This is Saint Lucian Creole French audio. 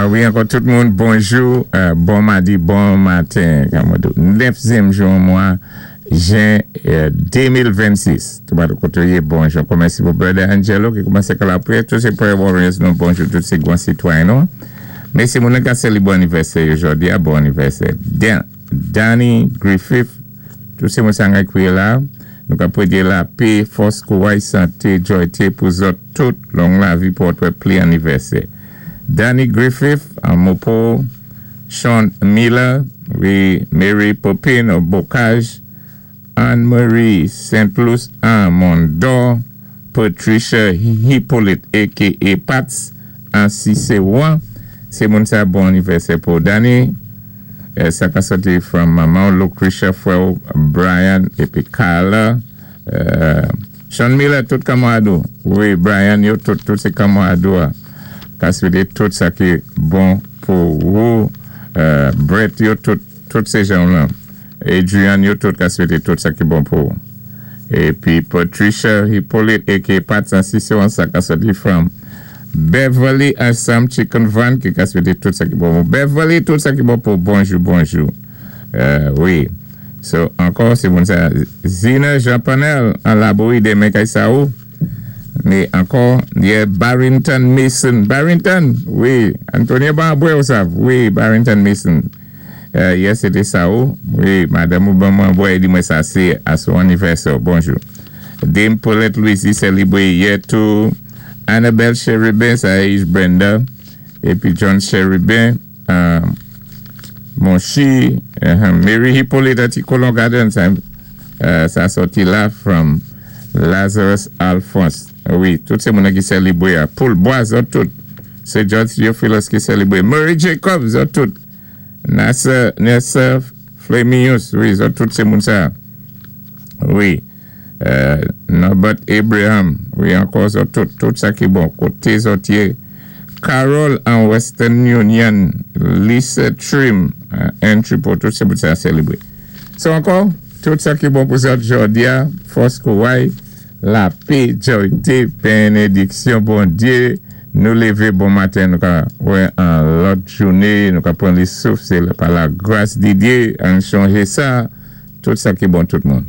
Wi, ankò tout moun, bonjou, bon madi, bon maten. Nèfzyèm jou mwa jen 2026. Tout moun koté ou yé, bonjou. Ankò mèsi pou Brother Angelo ki koumansé ak lapwiyè. Tout sé prayer warriors nou, bonjou, tout sé gwan sitwayen nou. Mèsi moun ki sélébré anivèsè jòdi a, bon anivèsè. Danny Griffith, tout sé moun sa ki la. Nou ka pwédé lapé, fòs, kouway, santé, jòyté pou zòt tout, long lavi pou wè pli anivèsè. Danny Griffith, an Mopo, Sean Miller, wi, Mary Popin au Bocage, Anne-Marie Saint-Louis an Mondor, Patricia Hippolyte a.k.a. Pats, an Cicéron. Sé moun sa bon anivèsè pou Danny. Sa ka sòti from manman Lucretia, frè Brian épi Carla. Sean Miller, tout kanmarad. Wi, Brian, yo tout, tout sé kanmarad. Ka swété tout sa ki bon pou ou. Brett, yo tout, tout sé jan la. Adrian, yo tout ka swété tout sa ki bon pou ou. Épi Patricia Hippolyte a.k.a. Pats an Cicéron, sa ka sòti from Beverly Assam Chicken Van ki ka swété tout sa ki bon pou Beverly, tout sa ki bon pou bonjou, bonjou. Wi. So, ankò, sé bon sa. Zina Jean Panel an Labouyi démen kay sa ou. Mé ankò, yè Barrington Mason. Barrington, wi. Antonio ban bwè ou sav. Wi, Barrington Mason. Yè sé té sa ou. Wi, madanm ou ban mwen bwè, di mwen sa sé a son anivèsè. Bonjou. Dame Paulette Louis sélébré yè tou. Annabelle Cherubin, sa is Brenda. Épi John Cherubin, Monchi, Mary Hippolyte a Ti Colon Garden, sa sòti la from Lazarus Alphonse. Wi, tout sé moun ki sélébré. Paul Bois, tout. Sé George Theophilus ki sélébré. Murray Jacobs, tout. Nessa, Nessa Flemius, wi, tout sé moun sa. Wi. Norbert Abraham, wi, ankò tout, tout sa ki bon. Koté zòt yé. Carol an Western Union, Lisa Trim, Entrepot, tout sé moun sa sélébré. So ankò, tout sa ki bon pou zòt jòdi a, fòs kouway, lapé, jòyté, bénédiksyon, Bondyé, nou lévé bon maten, nou ka wè an lòt jouné, nou ka pran li souf, sé pa la gras di Dye, ann chonjé sa, tout sa ki bon tout moun.